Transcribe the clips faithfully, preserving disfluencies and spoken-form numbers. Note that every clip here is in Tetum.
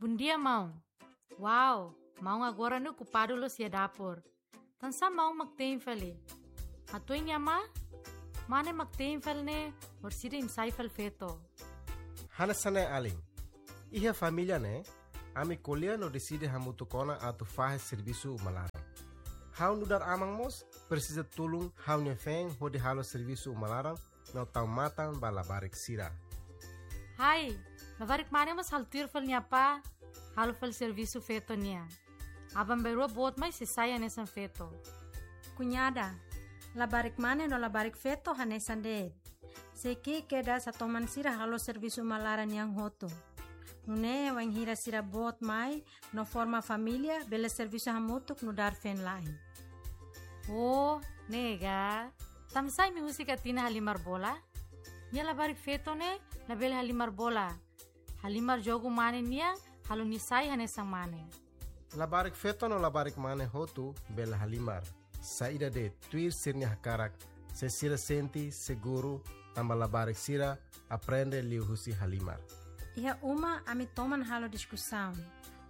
Bondia, maun. Wow, maun agora ne'e okupadu loos iha dapur. Tansá maun mak te'in fali? Hatuin iha mane? Mane mak te'in fali ne'e, orsida imi sai fali feto. Hanesan ne'e alin. Iha família ne'e, ami ko'alia no deside hamutuk ona atu fahe servisu uma laran. Ha'u nu'udar aman mós presiza tulun ha'u-nia feen hodi halo servisu uma laran no tau matan ba labarik sira. Hai, labarik mane mós halo tuir fali nia apá, halo fali servisu feto nian. Aban-bainrua boot mai sei sai hanesan feto. Kuñada, labarik mane no labarik feto hanesan de'it. Sei ki'ik kedas atu toman sira halo servisu uma laran nian hotu. Nune'e wainhira sira boot mai no forma família, bele servisu hamutuk nu'udar feen-la'en. Oh, ne'e ka. Tansá imi husik Atina halimar bola? Nia labarik feto ne'e labele halimar bola. Halimar jogu mane nian, halo nia sai hanesan mane. Labarik feto no labarik mane hotu bele halimar. Saida de'it, tuir sira-nia hakarak, se sira sente seguru, tanba labarik sira aprende liuhusi halimar. Iha uma ami toman halo diskusaun.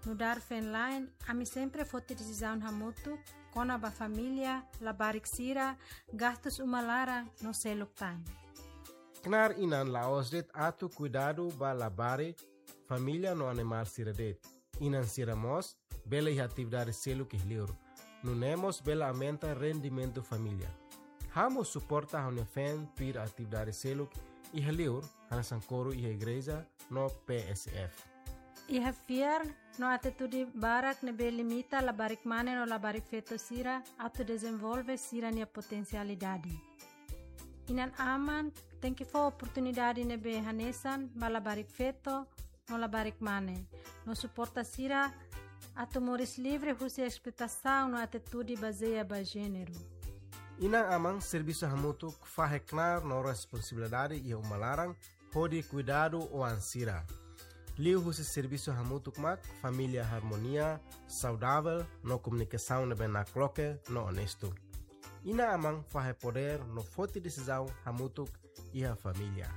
Nu'udar feen-la'en, ami sempre foti desizaun hamutuk kona-ba família, labarik sira, gastus uma laran no seluk tan. Knaar inan la'ós de'it atu kuidadu ba labarik, família no animál sira de'it. Inan sira mós bele iha atividade seluk iha liur. Nune'e mós bele aumenta rendimentu família. Ha'u mós suporta ha'u-nia feen tuir atividade seluk iha liur, hanesan koru iha igreja no P S F. Iha fiar no atitude barak ne'ebé limita labarik mane no labarik feto sira atu dezenvolve sira-nia potensialidade. Inan-aman tenke fó oportunidade ne'ebé hanesan ba labarik feto no labarik mane, no suporta sira atu moris livre husi esploitasaun no atitude bazeia ba jéneru. Inan-aman servisu hamutuk fahe knaar no responsabilidade iha uma laran hodi kuidadu oan sira. Liuhusi servisu hamutuk mak família harmonia, saudavel no komunikasaun ne'ebé nakloke no onestu. Inan-aman fahe podér no foti desizaun hamutuk iha família.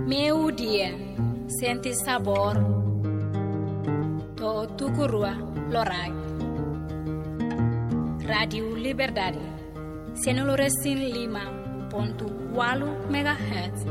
Meio-dia, sente sabor, to'o tuku rua loraik. Rádiu Liberdade, sanulu-resin-lima pontu ualu megahertz.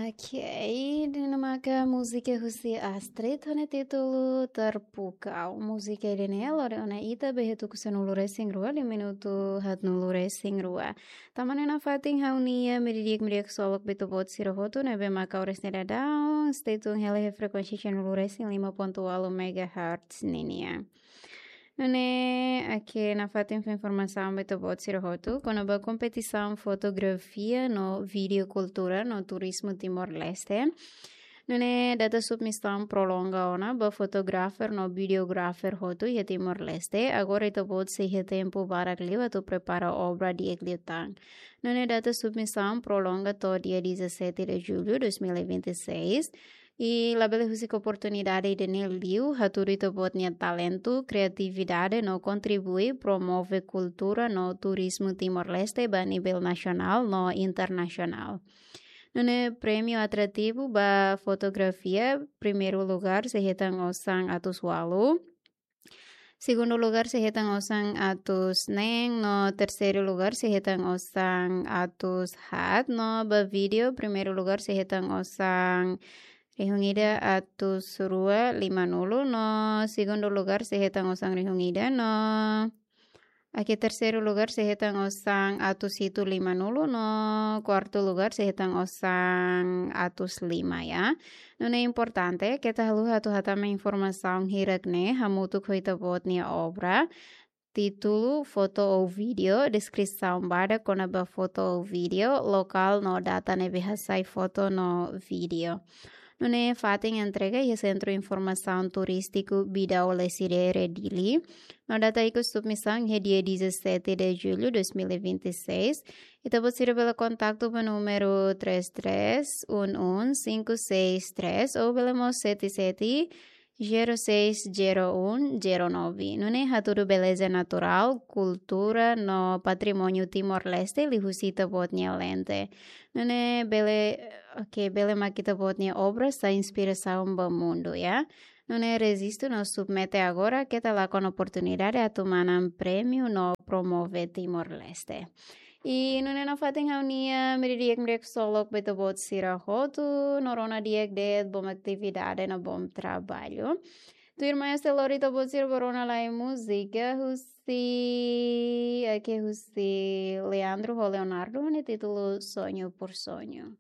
Ok, ida-ne'e maka múzika husi Astrid ho nia títulu Terpukau. Múzika ida-ne'e lori ona ita ba iha tuku sanulu-resin-rua, liu minutu haatnulu-resin-rua. Tan ne'e nafatin ha'u-nia meiudia di'ak, meiudia ksolok ba ita-boot sira hotu ne'ebé maka oras ne'e daudaun stay tune hela iha frekuénsia sanulu-resin-lima pontu ualu megahertz ninian. Nune'e, ok, nafatin fó informasaun ba ita-boot sira hotu kona-ba kompetisaun fotografia no vídeo kultura no turizmu Timor-Leste. Nune'e data submisaun prolonga ona ba fotografer no videografer hotu iha Timor-Leste. Agora ita-boot sei iha tempu barak liu atu prepara obra di'ak liután. Nune'e data submisaun prolonga to'o dia dezassete de julho de dois mil e vinte e seis. I labele husik oportunidade ida-ne'e liu hatudu ita-boot nia talentu, kriatividade no kontribui promove kultura no turizmu Timor-Leste ba nivel nasionál no internasionál. Nune'e prémiu atrativu ba fotografia, primeiru lugár sei hetan osan atus ualu. Segundu lugár sei hetan osan atus neen, no terseiru lugár sei hetan osan atus haat, no ba vídeo, primeiru lugár sei hetan osan rihun ida atus rua limanulu, no segundu lugár sei hetan osan rihun ida, no, ok, terseiru lugár sei hetan osan atus hitu limanulu, no kuartu lugár sei hetan osan atus lima, ya. Nune'e importante, keta haluha atu hatama informasaun hirak-ne'e hamutuk ho ita-boot nia obra, títulu, foto ou vídeo, deskrisaun badak kona-ba foto ou vídeo, lokál no data ne'ebé hasai foto no vídeo. Nune'e fatin entrega iha Sentru Informasaun Turístiku Bidau Lecidere Dili. No data ikus submisaun iha dia dezassete de julho de dois mil e vinte e seis. Ita-boot sira bele kontaktu ba númeru três três um um cinco seis três ou bele mós sete sete Zero seis, zero um, zero nove. Nune'e hatudu beleza naturál, kultura no patrimóniu Timor-Leste liuhusi ita-boot nia lente. Nune'e bele, oke, bele mak ita-boot nia obra sai inspirasaun ba mundu, ya. Nune'e rejistu no submete agora, keta lakon oportunidade atu manán prémiu no promove Timor-Leste. I nune'e nafatin ha'u-nia hamriik di'ak, hamriik ksolok ba ita-boot sira hotu, no rona di'ak de'it, bom atividade no bom traballu. Tuirmai ha'u sei lori ita-boot sira ba rona lai múzika husi, oke, husi Leandro ho Leonardo, nia títulu Sonho por Sonho.